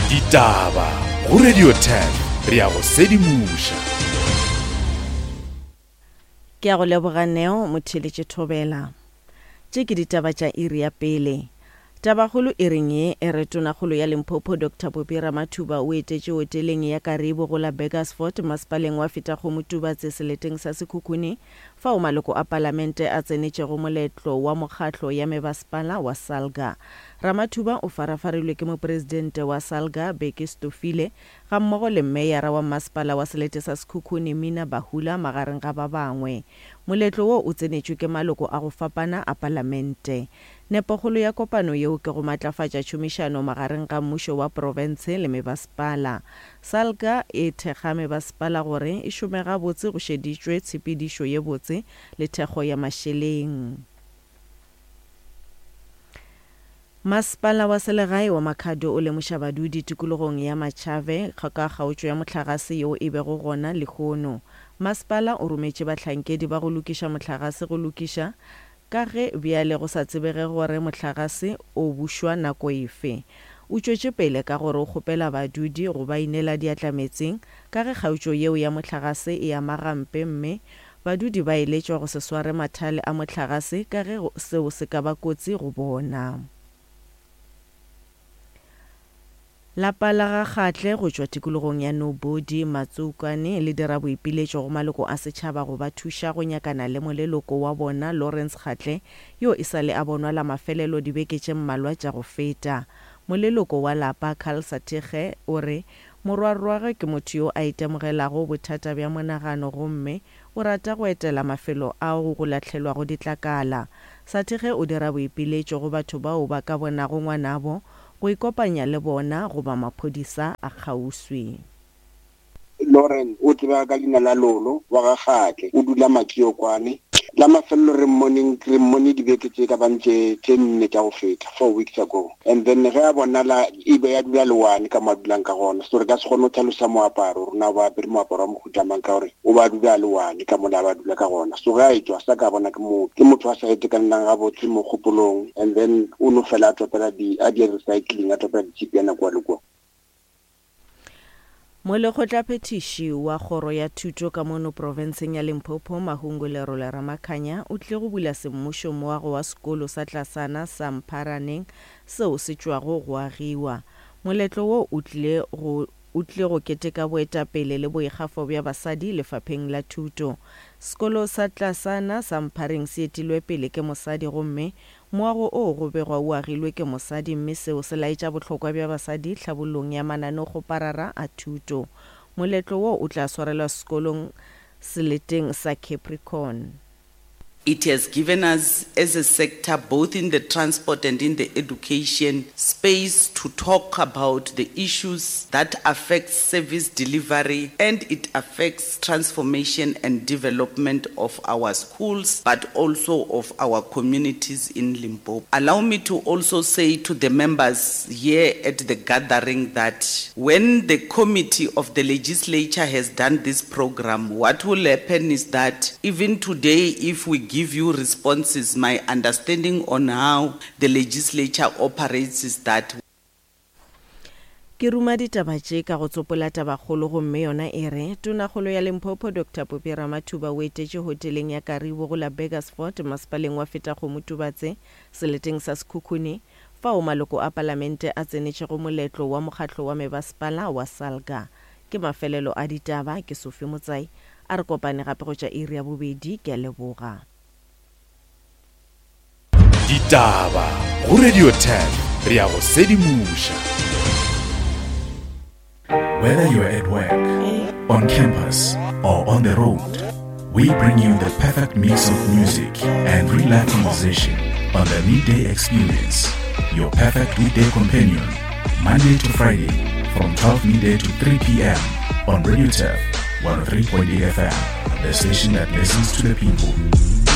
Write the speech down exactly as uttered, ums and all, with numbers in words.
Ditaba go Radio ten re ya go sedimoša. Ke a go leboga Neo motheeletše Thobela. Tše ke ditaba tša iri ya pele. Tabakgolo iring ye e re Tonakgolo ya Limpopo Doctor Phophi Ramathuba o etetše hoteleng ya Karibu go la Burgersfort masepaleng wa Fetakgomo Tubatse seleteng sa Sekhukhune fao maloko a palamente a tsenetšego moletlo wa mokgatlo ya mebasepala wa SALGA. Ramathuba o farafarilwe ke mopresidente wa SALGA Bheki Stofile gammogo le meyara wa masepala wa selete sa Sekhukhune Mina Bahula magareng ga ba bangwe. Moletlo wo o tsenetšwe ke maloko a go fapana a palamente. Nepokgolo ya kopano yeo ke go matlafatša tšhomišano magareng ga mmušo wa profense le mebasepala. SALGA e thekga mebasepala gore e šome gabotse go šeditšwe tshepedišo ye botse le thekgo ya mašeleng. Masepala wa selegae wa Makhado o lemoša badudi tikologong ya Machave ka kgaotšo ya mohlagase yeo e bego gona lehono. Masepala o rometše bahlankedi ba go lokiša mohlagase go lokiša ka ge bjale go sa tsebege gore mohlagase o bušwa nako efe. O tšwetše pele ka gore o kgopela badudi go ba inela diatla metseng ka ge kgaotšo yeo ya mohlagase e ama gampe mme badudi ba eletšwa go se sware mathale a mohlagase ka ge seo se ka ba kotsi go bona. Lapa la ga Kgatle go tšwa tikologong ya Nobody Matsokane le dira boipiletšo go maloko a setšhaba go ba thuša go nyakana le moleloko wa bona Lawrence Kgatle yo e sa le a bonwa la mafelelo dibeke tše mmalwa tša go feta. Moleloko wa lapa Carl Sathekge o re morwarrwagwe ke motho yo a itemogelago bothata bja monagano gomme o rata go etela mafelo ao go lahlelwago ditlakala. Sathekge o dira boipiletšo go batho bao ba ka bonago ngwanabo go ikopanya le bona goba maphodisa a kgauswi. Lauren o tseba ka leina la Lolo wa ga Kgatle, o dula Makiokwane. La mafelelo re mmoneng re mmone dibeke tše ka bang tše tše nne tša go feta, four weeks ago. And then ge a bonala e be ya dula le one ka mo a dulang ka gona. So re ka se kgone go tlhalosa moaparo rona ba apere moaparo wa mohuta mang ka gore o ba dula le one ka mola ba dula ka gona. So ge a etšwa sa ka bona ke motho ke motho a sa itekanelang gabotse mo kgopolong, and then o no fela a topela di a di recycling a topela ditšhipiana kua le kua. Molekgotlaphethiši wa kgoro ya thuto ka mono profenseng ya Limpopo Mahungu Lerole Ramakhanya o tlile go bula semmušo moago wa sekolo sa tlasana sa Mpharaneng seo se tšwago go agiwa. Moletlo wo o tlile go o tlile go keteka boetapele le boikgafo bja basadi lefapheng la thuto. Sekolo sa tlasana sa Mphareng se etilwe pele ke mosadi gomme moago o go begwa o agilwe ke mosadi mme seo se laetša bohlokwa bja basadi tlhabollong ya mananeokgoparara a thuto. Moletlo wo o tla swarelwa sekolong seleteng sa Capricorn. It has given us as a sector, both in the transport and in the education space, to talk about the issues that affect service delivery, and it affects transformation and development of our schools, but also of our communities in Limpopo. Allow me to also say to the members here at the gathering that when the committee of the legislature has done this program, what will happen is that even today, if we give you responses, my understanding on how the legislature operates is that Ke ruma ditaba tše ka go tsopola tabakgolo gomme yona e re Tonakgolo ya Limpopo Doctor Phophi Ramathuba o etetše hoteleng ya Karibu go la Burgersfort masepaleng wa Fetakgomo Tubatse seleteng sa Sekhukhune fao maloko a palamente a tsenetšego moletlo wa mokgatlo wa mebasepala wa SALGA. Ke mafelelo a ditaba ke Sophie Motsai a re kopane gape go tša iri ya bobedi. Ke a leboga. Ditaba go Radio ten re ya go sedimoša. Whether you're at work, on campus, or on the road, we bring you the perfect mix of music and real life conversation on the Midday Experience, your perfect weekday companion, Monday to Friday from twelve midday to three p.m. on Radio Turf one oh three point eight F M, the station that listens to the people.